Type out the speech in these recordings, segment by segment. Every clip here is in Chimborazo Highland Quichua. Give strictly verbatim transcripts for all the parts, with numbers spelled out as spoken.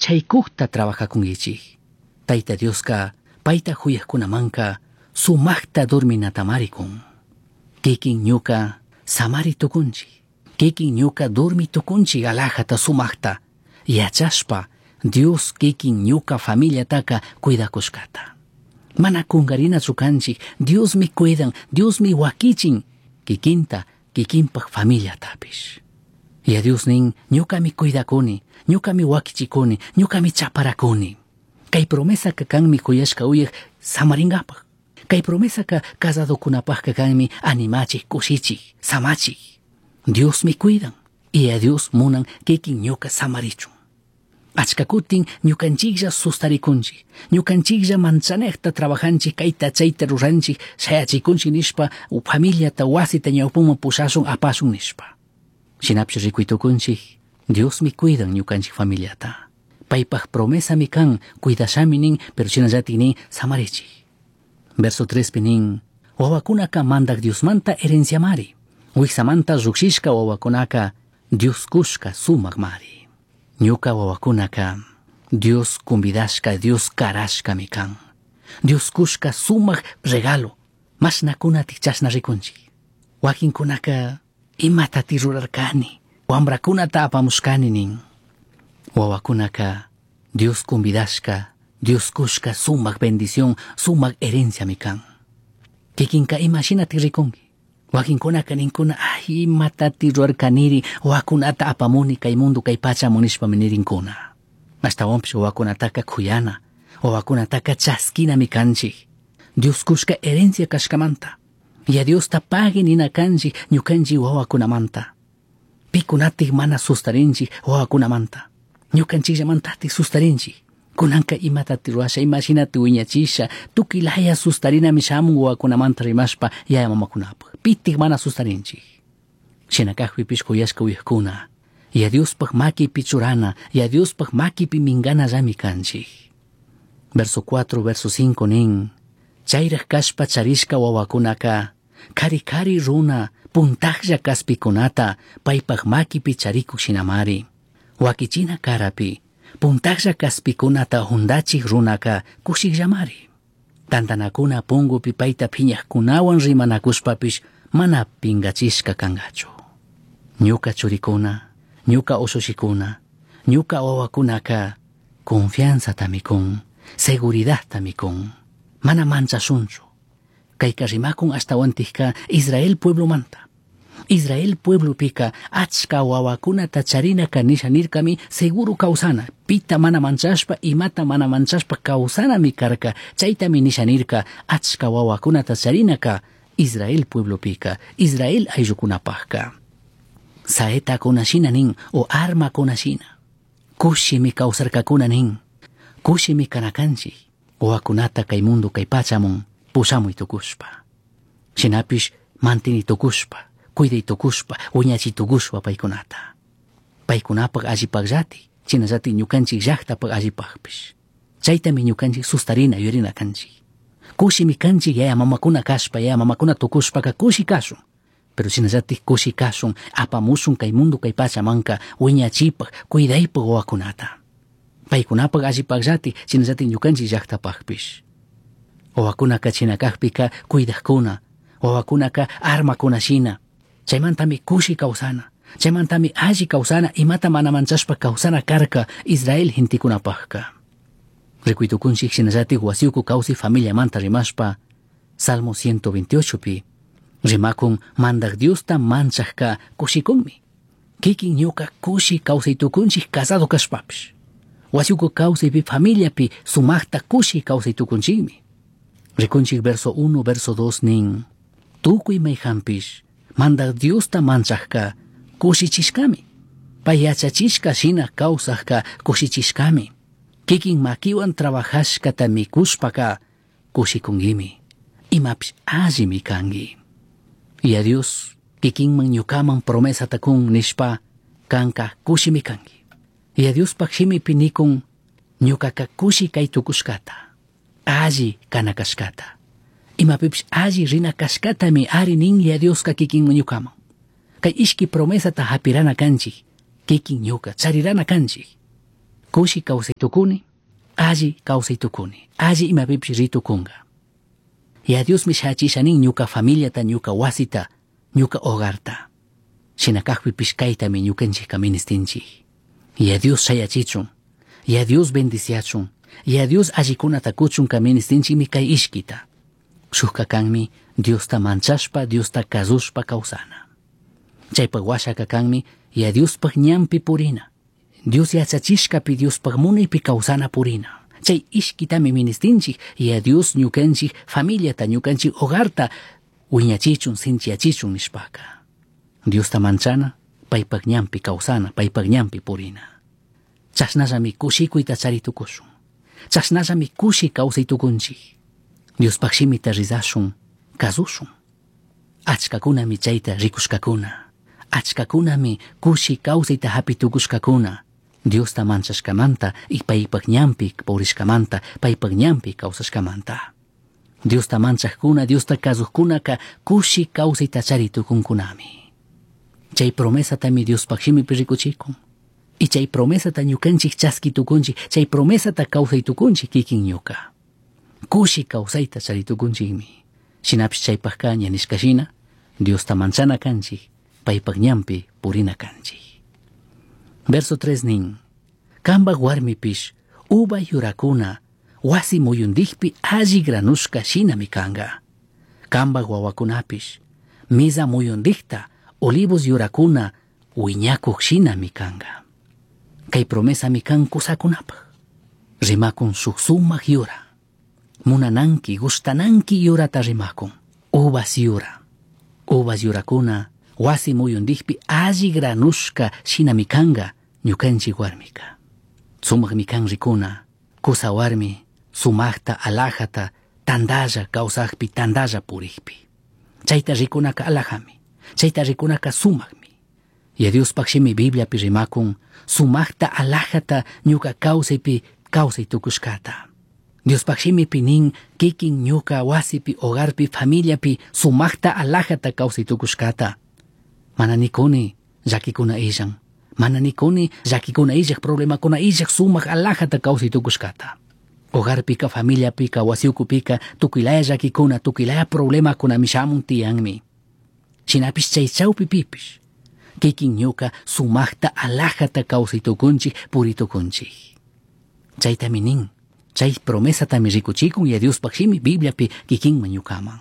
Chaicujta trabajacunguichij. Taita Diosca paita juyajcunamanca sumajta dorminatamari cun. Kikin ñuka samari tucunchij. Kikin ñuka dormi tucunchij alajata sumajta. Yachashpa Dios kikin ñuka familiataka cuidacushcata. Mana kungarinachu kanchik, Diosmi cuidan, Diosmi wakichin, kikinta, kikinpaj familiatapish. Yaya Dios nin, ñukami cuidakuni, ñukami wakichikuni, ñukami chaparakuni. Kay promesaka kanmi kuyashka uyaj samaringapaj. Kay promesaka casadokunapajka kanmi animachik, kushichik, samachik. Diosmi cuidan, y a Dios munan kikin ñuka samarichun. Achka kutin ñukanchiklla sustarikunchik, ñukanchiklla manchanejta trabajanchik, kayta chayta ruranchik, shayachikunchik nishpa, familiata wasita ñawpaman pushashun apashun nishpa. Shinapish rikuytukunchik, Diosmi cuidan ñukanchik familiata. Paypaj promesami kan, cuidashami nin, pero shinallatik nin, samarichik. Verso trespi nin, wawakunaka mandak Diosmanta herenciamari. Wiksamanta llukshishka wawakunaka Dios kushka sumakmari. Ñuka wawakunaka Dios convidashka, Dios karashkami kan. Dios kushka sumak regalo. Mashnakunatik chashna rikunchik. Wakinkunaka imatati rurarkani, wambrakunata apamushkani nin. Wawakunaka Dios convidashka, Dios kushka sumak bendición, sumak herenciami kan. Kikinka imashinati rikunki. Wakinkunaka ninkuna, ay, imatati rurarkaniri, wawakunata apamuni kay mundo kay pachamun nishpami nirinkuna. Ashtawanpish wawakunataka kuyana, wawakunataka chaskinami kanchik. Dios kushka herencia kashkamanta. Yaya Diosta pagui nina kanchik ñukanchik wawakunamanta. Pikunatik mana sustarinchik wawakunamanta. Ñukanchikllamantatik sustarinchik. Kunanka imatati ruwasha, imashinati wiñachisha, tukuy laya sustarinami shamun wawakunamanta rimashpa yaya mamakunapaj. Pitik mana sustarinchik. Shina kajpipish kuyashka uyajkuna, Yaya Diospaj makipi churana, Yaya Diospaj makipi minganallami kanchik. Verso cuatro, verso cinco nin, chayraj kashpa charishka wawakunaka, kari kari runa, puntajlla kaspikunata, paypaj makipi charikuk shinamari. Wakichina karapi, puntajlla kaspikunata hundachik runaka kushikllamari. Tantanakuna pungupi payta phiñajkunawan rimanakushpapish mana pingachishka kangachu. Ñuka churikuna, ñuka ushushikuna, ñuka wawakunaka confianzatami kun, seguridadtami kun. Mana manchashunchu. Kayka rimakun ashtawantikka Israel pueblomanta. Israel pueblopika achka wawakunata charinaka nisha nirkami seguro kawsana, pita mana manchashpa, imata mana manchashpa kawsanami karka, chaytami nisha nirka achka wawakunata charinaka Israel pueblopika, Israel ayllukunapajka. Saetakuna shina nin o armakuna shina. Kushimi kawsarkakuna nin, kushimi kanakanchik, wawakunata kay mundo kay pachamun pushamuy tukushpa. Shinapish mantini tukushpa, cuiday tukushpa, wiñachiy tukushpa paykunata. Paykunapaj allipajllati, shinallati ñukanchik llaqtapaj allipajpish. Chaytami ñukanchik sustarina yuyarina kanchik. Kushimi kanchik yaya mamakuna kashpa, yaya mamakuna tukushpaka kushi kashun. Pero shinallatik kushi kashun, apamushun kay mundo kay pachamanka wiñachipaj, cuidaypaj wawakunata. Paykunapaj allipajllati, shinallati ñukanchik llaqtapajpish. Wawakunaka china kajpika cuidajkuna, wawakunaka armakuna shina. Chaymantami kushi kawsana, chaymantami alli kawsana, imata mana manchashpa kawsana karka Israel gentekunapajka. Rikuytukunchik shinallatik wasiyuku kawsay familiamanta rimashpa, Salmo ciento veintiocho pi, rimakun mandak Diosta manchajka kushikunmi. Kikin ñuka kushi kawsaytukunchik casado kashpapish. Wasiyuku kawsaypi familiapi sumaqta kushi kawsaytukunchikmi. Rikunchik verso uno, verso dos nin, tukuy mayhanpish mandak Diosta manchajka kushichishkami. Pay yachachishka shina kawsajka kushichishkami. Kikin makiwan trabajashkata mikushpaka kushikunkimi. Imapish allimi kanki. Y a Dios kikinman ñukaman promesata kun nishpa kanka kushimi kanki. Y a Diospaj shimipi nikun ñukaka kushi kay tukushkata, alli kana kashkata. Imapipish alli rina kashkatami ari nin Yaya Dioska kikinman ñukaman. Kay ishki promesata hapirana kanchik, kikin ñuka charirana kanchik. Kushi kawsay tukuni, alli kawsay tukuni, alli imapipish ri tukunga. Yaya Diosmi shayachisha nin ñuka familiata, ñuka wasita, ñuka hogarta. Shina kajpipish kaytami ñukanchikka ministinchik. Yaya Dios shayachichun, Yaya Dios bendiciachun, Yaya Dios allikunata kuchunka ministinchikmi kay ishkita. Shukka kanmi Diosta manchashpa, Diosta kazushpa kawsana. Chaypak washaka kanmi Yaya Diospaj ñanpi purina. Dios yachachishkapi Diospaj munaypi kawsana purina. Chay ishkitami ministinchik Yaya Dios ñukanchik familiata, ñukanchik hogarta wiñachichun, sinchiyachichun nishpaka. Diosta manchana, paypak ñanpi kawsana, paypak ñanpi purina. Chashnallami kushikuyta chari tukushun. Chashnallami kushi kawsay tukunchik. Diospaj shimita rizashun, kazushun. Achkakunami chayta rikushkakuna. Achkakunami kushi kawsayta hapi tukushkakuna. Diosta manchashkamanta y paypak ñanpi purishkamanta, paypak ñanpi kawsashkamanta. Diosta manchajkuna, Diosta kazujkunaka kushi kawsayta chari tukunkunami. Chay promesatami Diospaj shimipi rikuchikun. Y chay promesata ñukanchik chaski tukunchik, chay promesata kawsay tukunchik kikin ñuka. Kushi kawsayta chari tukunchikmi. Shinapish chaypajka ña nishka shina, Diosta manchana kanchik, paypak ñanpi purina kanchik. Verso tres nin, Kambaj warmipish uva yurakuna wasi muyundikpi alli granushka shinami kanga. Kambaj wawakunapish miza muyundikta olivos yurakuna wiñakuq shinami kanga. Kay promesami kan kusakunapaj. Rimakun shuk sumak yura. Munananki, gustananki yurata rimakun. Uvas yura. Uvas yurakuna wasi muyundikpi alli granushka shinami kanga ñukanchik warmika. Sumakmi kan rikuna, kusa warmi sumakta alajata tandalla kawsakpi tandalla purikpi. Chayta rikunaka alajami, chayta rikunaka sumakmi. Yaya Diospaj shimi Bibliapi rimakun sumakta alajata ñuka kawsaypi kawsay tukushkata. Diospaj shimipi nin kikin ñuka wasipi, hogarpi, familiapi sumakta alajata kawsay tukushkata. Mana nikuni llakikuna illan. Mana nikuni llakikuna illaj, problemakuna illaj sumak alajata kawsay tukushkata. Hogarpika, familiapika, wasiukupika tukuylaya llakikuna, tukuylaya problemakunami shamun tiyanmi. Shinapish chay chawpipipish kikin ñuka sumakta alajata kawsay tukunchik, puri tukunchik. Chaytami nin, chay promesatami rikuchikun Yaya Diospaj shimi Bibliapi kikinman ñukaman.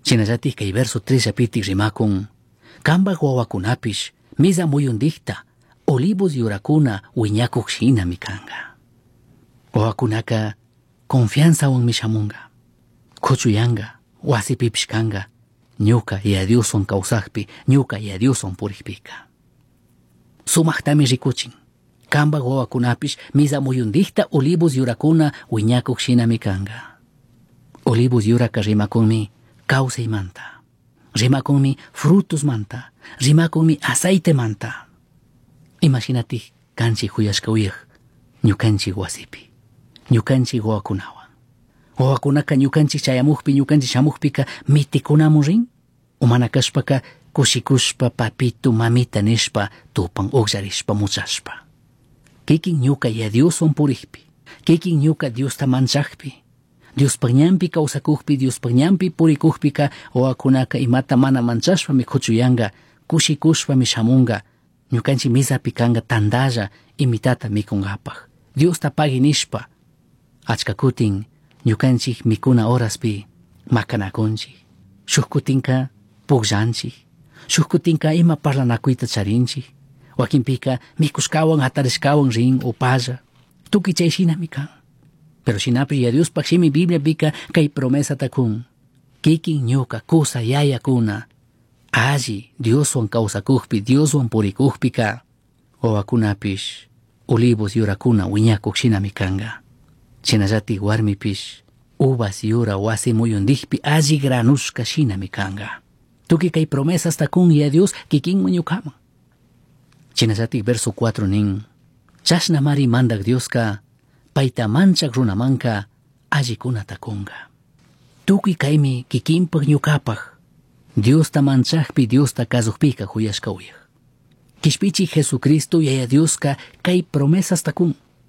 Shinallatik kay verso tres llapitik rimakun, Kambaj wawakunapish miza muyundikta olivos yurakuna wiñakuq shinami kanga. Wawakunaka confianzawanmi shamunga, kuchuyanga, wasipipish kanga, ñuka Yaya Dioswan kawsakpi, ñuka Yaya Dioswan purikpika. Sumaktami rikuchin, Kambaj wawakunapish miza muyundikta olivos yurakuna wiñakuq shinami kanga. Olivos yuraka rimakunmi kawsaymanta, rimakunmi frutosmanta, rimakunmi aceitemanta. Imashinatik kanchik huyashka uyaj ñukanchik wasipi, ñukanchik wawakunawan. Wawakunaka ñukanchik chayamukpi, ñukanchik shamukpika mitikunamun rin, umana kashpaka kushikushpa papito mamita nishpa tupan ukllarishpa muchashpa. Kikin ñuka Yaya Dioswan purikpi, kikin ñuka Diosta manchakpi, Diospaj ñanpi kawsakukpi, Diospaj ñanpi purikukpika wawakunaka imata mana manchashpami kuchuyanga, kushikushpami shamunga, ñukanchik mizapi kanga tandalla imitata mikunkapaj. Diosta pagui nishpa, achka kutin ñukanchik mikuna horaspi makanakunchik, shuk kutinka pukllanchik, shuk kutinka ima parlanakuyta charinchik, wakinpika mikushkawan hatarishkawan rin upalla, tukuy chay shinami kan. Pero shinapish Yaya Diospaj shimi Bibliapika kay promesata kun, kikin ñuka kusa yayakuna alli Dioswan kawsakukpi, Dioswan purikukpika wawakunapish olivos yurakuna wiñakuk shinami kanga. Shinallatik warmipish uvas yura wasi muyundikpi alli granushka shinami kanga. Tukuy kay promesasta kun Yaya Dios kikinman ñukaman. Shinallatik verso cuatro nin, chashnamari mandak Dioska payta manchak runamanka allikunata kunga. Tukuy kaymi kikinpak ñukapaj Diosta manchakpi, Diosta kazukpika huyashka uyaj. Quishpichi Jesucristo Yaya Dioska kay promesasta kun.